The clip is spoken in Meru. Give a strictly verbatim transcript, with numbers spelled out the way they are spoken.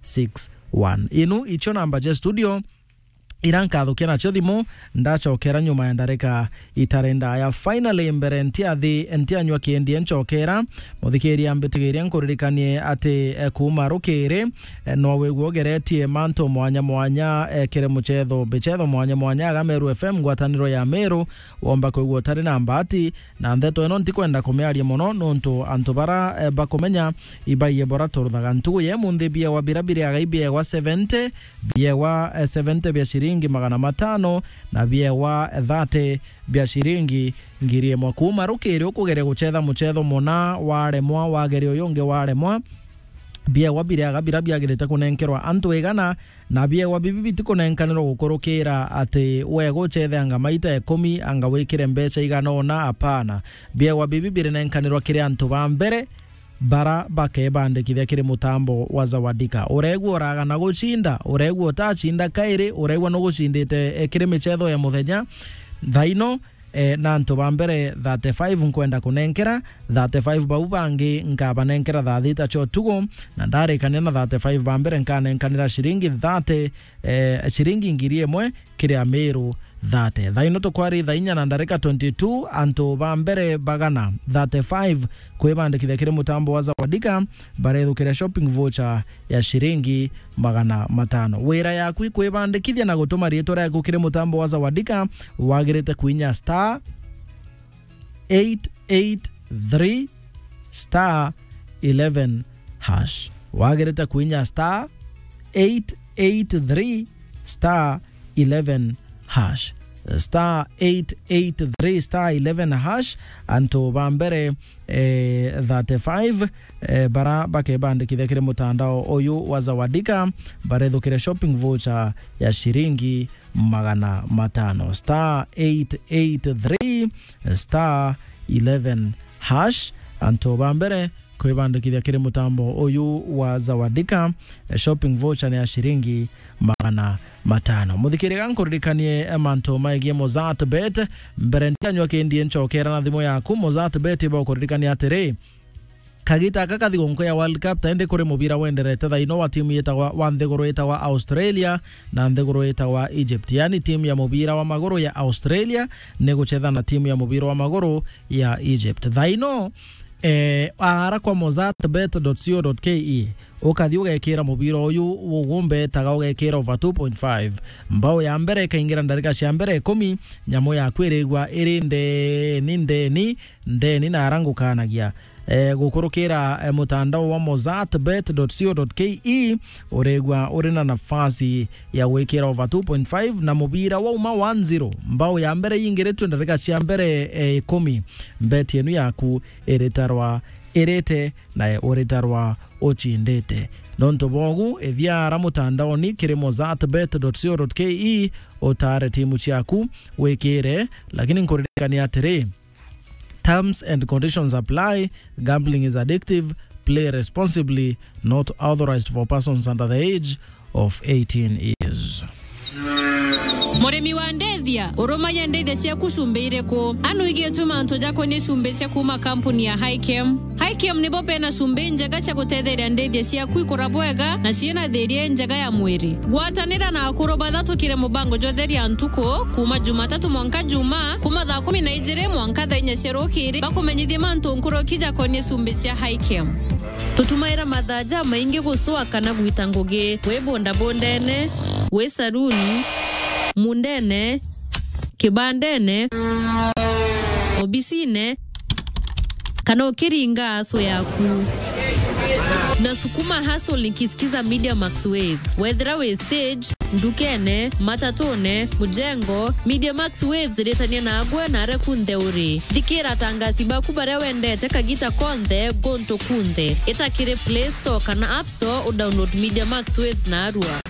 six one. Inu icio namba cia studio ira nkathukia nacio thimu, ndacokera nyuma ya ndarika itari ndaya. Finally, mbere ntiathi, ntianyua kindi ncokera, muthikiria mbitigiria nkuririkanie ati, eh, kuuma rukiri, eh, no wigua ugeretie mantu mwanya mwanya, eh, kiri mucetho, mbicetho mwanya mwanya aga Meru F M, ngwataniro ya Meru, womba kwigua utari na mbati, na ndeto ino ntikwenda kumiaria mono, nontu antu bara, eh, bakumenya ibaiye bora turuthaga. Ntugu ya imunthi biewa bira biriaga ibiewa seventy, biewa, eh, seventy bia ciringi magana matano, na biewa thirty bia ciringi ngiri imwe. Kuuma rukiri ukugeria gucetha mucetho muna waremwa, wageria uyu ungi waremwa, biewa biriaga bira biagirite kunenkerwa antu igana, na biewa bibi bitikunenkanirwa gukurukira ati wega ucethe anga maita ikumi, anga wikire mbeca igana una, apana. Biewa bibi birinenkanirwa kiri antu ba mbere bara bakebandikithia kiri mutambo wa Zawadika. Uregua uragana gucinda, uregua utacinda kairi, uregua nugucindite, eh, kiri micetho ya muthenya. Thaino, eh, na antu ba mbere thirty-five nkwenda kunenkera, thirty-five bau bangi nkabanenkera thaa thita cia utuku, na ndarikania na thirty-five ba mbere nkanenkanira ciringi thirty, eh, ciringi ngiri imwe kiri Amiru thirty. Thaa ino tukwari thaa inya na ndarika twenty-two, antu ba mbere bagana thirty-five kwibandikithia kiri mutambo wa Zawadika, barethukira shopping voucher ya ciringi magana matano. Wira yaku ikwibandikithia na gutuma riitwa riaku kiri mutambo wa Zawadika, wagirite kuinya star eight eight three star eleven hash. Wagirite kuinya star eight eight three star eleven hash. Star eight eight three star eleven hash. Antu ba mbere, eh, thirty-five, eh, bara bakebandikithia kiri mutandao uyu wa Zawadika, barethukire shopping voucher ya ciringi magana matano. Star eight eight three star eleven hash. Antu ba mbere kwibandikithia kiri mutambo uyu wa Zawadika, eh, shopping voucher ni ya ciringi magana matano. Muthikiriria, nkuririkanie, eh, mantu megie Mozart Bet. Mbere ntianyua kindi ncokera na thimu yaku, Mozart Bet ibo kuririkania atiri, kagita aka kathi gonko ya World Cup, ta indi kuri mubira wenderete thaino wa timu yitagwa, wa nthiguru yitagwa Australia na nthiguru yitagwa Egypt. Yani timu ya mubira wa maguru ya Australia ni gucetha na timu ya mubira wa maguru ya Egypt. Thaino, eh, ara kwa mozartbet dot co dot ke, ukathi ugekira mubira uyu ugumbetaga, ugekira over two point five. Mbao ya mbere ikaingira ndarika cia mbere ikumi, nyamu yaku irigwa iri ndeni, ndeni, ndeni na ara ngukanagia. Eh, gukurukira, eh, mutandao wa mozartbet dot co dot ke, urigwa uri na nafasi ya gwikira over two point five na mubira wauma one zero. Mbao ya mbere yingiritwe ndarika cia mbere, eh, ikumi, bet yenu yaku iritarwa irite na uritarwa ucindite. Nontu bogu, ithia ara mutandaoni kiri mozartbet dot co dot ke, utare timu ciaku wikire, lakini nkuririkania atiri, terms and conditions apply. Gambling is addictive. Play responsibly. Not authorized for persons under the age of eighteen years. Murimi wa ndethia, urumagia ndethia ciaku cumbi iriku? Anu igitwe mantu jakonie cumbi cia kuuma kampuni ya Highchem. Highchem nibo bena cumbi njega cia gutetheria ndethia ciaku ikura bwega na ciina thiria njega ya mwiri. Gwatanira na akuru bathatu kiri mubango jwa Theria Ntuku, kuuma Jumatatu mwanka Juma, kuuma thaa kumi na ijiri mwanka thaa inya cia rukiri, bakumenyithie mantu nkuruki jakonie cumbi cia Highchem. Tutumaira mathaa jamaingi gucua kana gwita ngugi, wi bundabundene, wi saruni, mundene, kibandene, obisine, kana ukiringa aso yaku. Na sukuma hustle nikisikiza Media Max Waves. Wethira wi stage, ndukene, matatune, mujengo, Media Max Waves iritania nagwe na aria kunthe uri. Thikira atangasi baku baria wendete kagita konthe, guntu kunthe. Ita kiri Play Store kana App Store, udownload Media Max Waves narua.